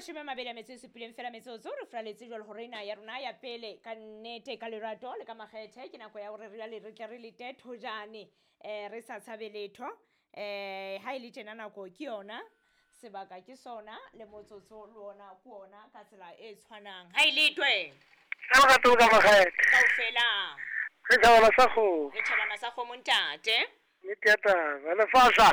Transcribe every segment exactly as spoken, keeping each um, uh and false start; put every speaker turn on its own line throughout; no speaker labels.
mashome a mabedi a metso e supileng fela metsotso re furaletse jwalo hore ena ya rona ya pele ka nnete ka lerato le ka makgethe ke nako ya hore re jwale re tle re lete thojane um re sa tshabe letho um ha e le tjena nako ke yona sebaka ke sona le motsotso le ona ke ona ka tsela e tshwanang ha e letwe
Ka lerato le ka makgethe.
kaofela
Re tjhabana sa kgomo.
re tjhabana sa kgomo ntate.
Nnete ya taba. Lefahla.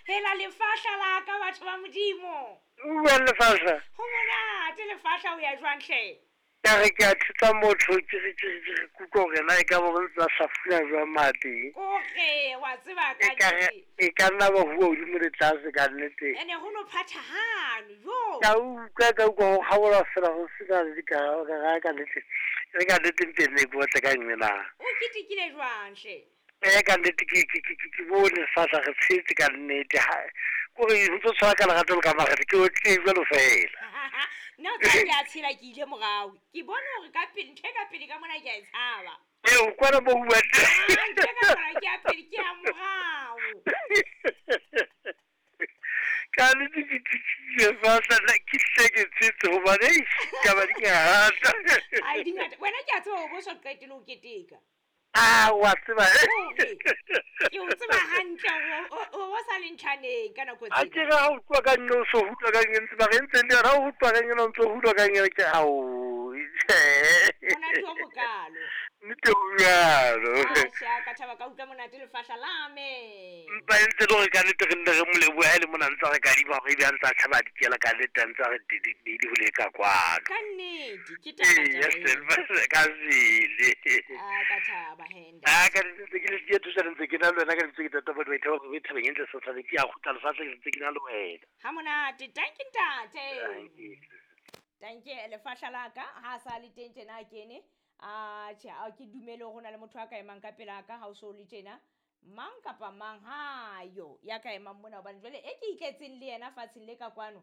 Hela lefahla la ka batho ba modimo.
O buang lefahla.
Ho monate lefahla o ya jwang hle?
Ka re ke a thusa motho ke re ke re ke re kutlwa hore na e ka ba re ntse a hlafuna jwang mateng.
Kore wa tseba ka
E ka re
nnete.
e ka nna ba bua hodimo le tlase ka nnete.
Ene ho no phathahane jo.
Ka utlwa ka utlwa ho kgabola fela ho sena le dikarabo ka re ka nnete. Re ka nnete mpe nne ke batle ka nngwe na.
O ketekile jwang hle?
Eh ka nnete ke ke ke ke bone lefahla re tshetse ka nnete ha kore ho ntso tshwana ka lerato le ka makgethe ke otlile jwalo fela.
Nna o tseba ke a tshela ke ile morao. Ke bone hore ka pele ntho e ka pele ka mona ke a e tshaba.
Ee o kwana mo ho buang teng.
Ah, ntho e ka mona ke ya pele ke ya morao.
Ka nnete ke thusitse lefahla nna ke hle ke tshetse hobane eish taba di ngata.
Ai di ngata. Wena ke a tseba hore bo so qetele ho keteka.
Ah wa tseba
Hore ke o tseba hantle hore o o sa le ntjhaneng ka nako
Ha
tsena.
ke re ha o utlwa ka nne o so utlwa ka nne ntse mara e ntse le yona ha o utlwa ka nne o ntso utlwa ka nne ke ao tjhe.
Monate o mokalo.
Nnete ho jwalo.
Atjhe a ka thaba ka utlwa monate lefahla la me.
Empa e ntse le hore ka nnete re nne re mo lebohe ha e le mona ntse a re kadima hore ebe a ntse a tjhaba a dikela ka nnete a ntse a re di ho leka kwano.
Ka nnete ke taba
Eya
taba eo.
ka sebele.
Ah ka thaba he
Ah
ntate.
ka nnete ntse ke le siya thusa ntse ke na le wena ka lebitso ke tata batho ba ithaba ba thabeng e ntle setjhabeng ke a kgutla lefatshe ke ntse ke na le wena.
Ha monate. Tanki ntate.
Tanki.
Tanki lefahla la ka ha sa le teng tjena a kene. Atjhe a ke dumele hore ho na le motho a ka emang ka pela ka ha o so le tjena. Mang kapa mang ha yo ya ka emang mona hobane jwale e ke itletseng le yena fatsheng le ka kwano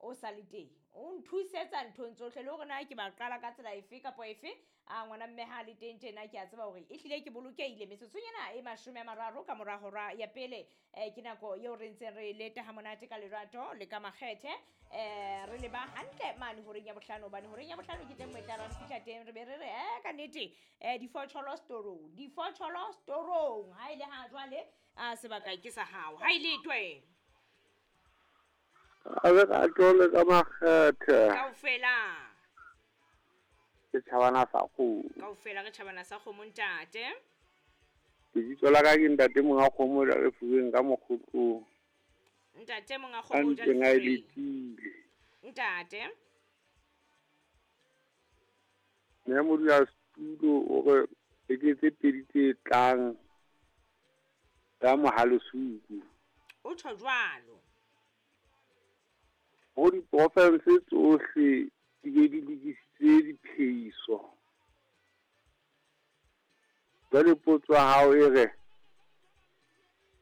o sa le teng. O nthusetsa nthong tsohle le hore na ke ba qala ka tsela efe kapa efe. A ngwana mme ha le teng tjena ke a tseba hore ehlile ke bolokehile. Metsotsong ena e mashome a mararo ka mora hora ya pele eh ke nako eo re ntseng re leta ha monate ka lerato le ka makgethe eh re leba hantle mane horeng ya bohlano hobane horeng ya bohlano ke teng mo e tla re fihla teng re be re re eh ka nnete eh difotsholo storong difotsholo storong ha ile ha jwale a sebaka ke sa hao ha ile twe
A lerato le ka makgethe.
Kaofela.
Ke tjhabana sa kgomo.
Kaofela re tjhabana sa kgomo ntate.
Lebitso la ka ke ntate monga kgomo la lefuweng ka mokgotlong.
Ntate monga
A
kgomo o ja
ntseng a e
lefuweng.
letile.
Ntate.
Mme modulasetulo o re beke tse pedi tse tlang tsa mohalesuku.
O tjho jwalo.
Ho diporofense tsohle di be di lokisitse diphehiso. Jwale potso ya hao e re,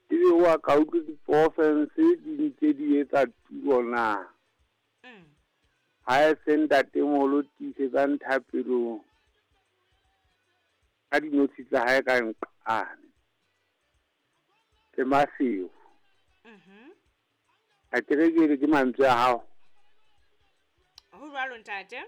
ebe wa ka utlwa diporofense di ntse di etsa tulo na?
Mm.
Ha e se ntatemoholo tiisetsang thapelong ka dinotshi tsa hae ka nqane. Le Maseru.
Mhm.
A ke re ke re ke mantswe a hao.
Ho jwalo ntate.